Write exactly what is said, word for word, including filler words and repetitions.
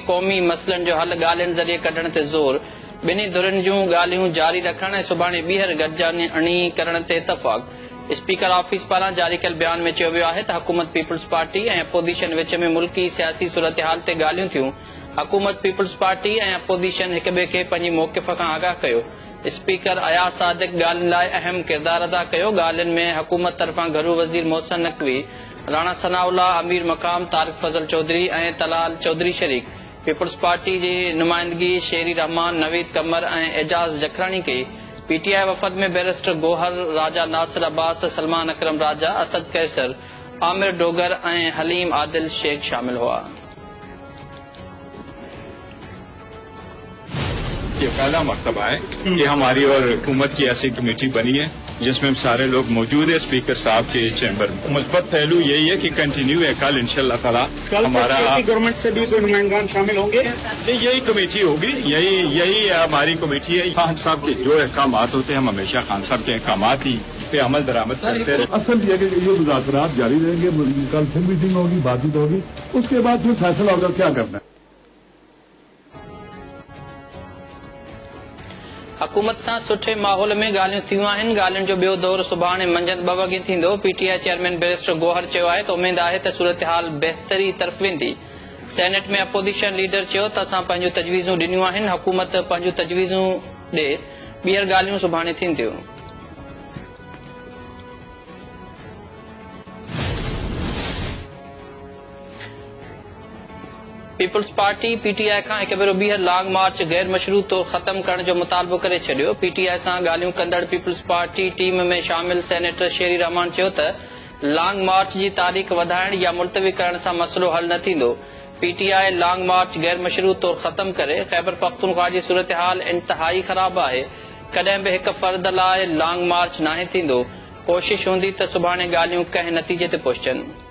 क़ौमी मसइलनि जो हल ॻाल्हियुनि ज़रिए कढण ते ज़ोर। ॿिन्ही धुरनि जूं ॻाल्हियूं जारी रखण ऐं सुभाणे ॿीहर गॾिजाणी करण ते इतफ़ाक़। स्पीकर ऑफिस पारां जारी कयल बयान में चयो वियो आहे त हुकूमत पीपल्स पार्टी ऐं अपोज़िशन विच में मुल्की सियासी सूरत हाल ते ॻाल्हियूं थियूं। हुकूमत पीपल्स पार्टी ऐं अपोज़िशन हिक ॿिए खे पंहिंजी मौक़िफ़ खां आगाह कयो। स्पीकर अयाज़ सादिक ॻाल्हियुनि लाइ अहम किरदार अदा कयो। ॻाल्हियुनि में हुकूमत तरफ़ां घरू वज़ीर मोहसिन नकवी, राणा सनाउल्ला, अमीर मक़ाम, तारिक फज़ल चौधरी ऐं तलाल चौधरी शरीक। पीपल्स पार्टी जी नुमाइंदगी शेरी रहमान, नवीद कमर ऐं एजाज़ जखराणी कई। पीटीआई वफद में बैरिस्टर गोहर, राजा नासिर अब्बास, सलमान अकरम राजा, असद कैसर, आमिर डोगर ऐं हलीम आदिल शेख शामिल हुआ। ये पहला मरतबा है कि हमारी और हुकूमत की ऐसी कमेटी बनी है जिसमें सारे लोग मौजूद है स्पीकर साहब के चैम्बर में। मुस्बत पहलू यही है कि कंटिन्यू है। कल इंशाअल्लाह ताला हमारा गवर्नमेंट से भी कोई नुमाइंदान शामिल होंगे। यही कमेटी होगी, यही यही हमारी कमेटी है। खान साहब के जो अहकाम होते हैं हम हमेशा खान साहब के अहकाम ही पे अमल दरामद करते रहे। असल ये कि ये मुज़ाकरात जारी रहेंगे, कल फिर मीटिंग होगी, बातचीत होगी, उसके बाद फिर फैसला होगा क्या करना है। हुकूमत सां सुठे माहौल में ॻाल्हियूं थियूं आहिनि। ॻाल्हियुनि जो ॿियो दौर सुभाणे मंझंदि ॿ वॻे थींदो। पीटीआई चेयरमैन बैरिस्टर गोहर चयो आहे त उमेद आहे त सूरत हाल बहितरी तरफ़ वेंदी। सेनेट में अपोज़िशन लीडर चयो त असां पंहिंजूं तजवीज़ूं ॾिनियूं आहिनि, हुकूमत पंहिंजूं तजवीज़ूं ॾे, ॿीहर ॻाल्हियूं सुभाणे थींदियूं। पीपल्स पार्टी पीटीआई खां हिकु भेरो ॿीहर लॉन्ग मार्च गैर मशरूत तौर ख़त्म करण जो मुतालबो करे छॾियो। पीटीआई सां ॻाल्हियूं कंदड़ पीपल्स पार्टी टीम में शामिल सेनेटर शेरी रहमान चयो त लॉन्ग मार्च जी तारीख़ वधाइण या मुलतवी करण सां मसइलो हल न थींदो। पीटीआई लॉन्ग मार्च गैर मशरूत तौर ख़त्म करे। ख़ैबर पख्तूनख्वा जी सूरत हाल इंतिहाई ख़राब आहे, कॾहिं बि हिकु फ़र्द लाइ लॉन्ग मार्च नाहे थींदो। कोशिश हूंदी त सुभाणे ॻाल्हियूं कंहिं नतीजे ते पहुचनि।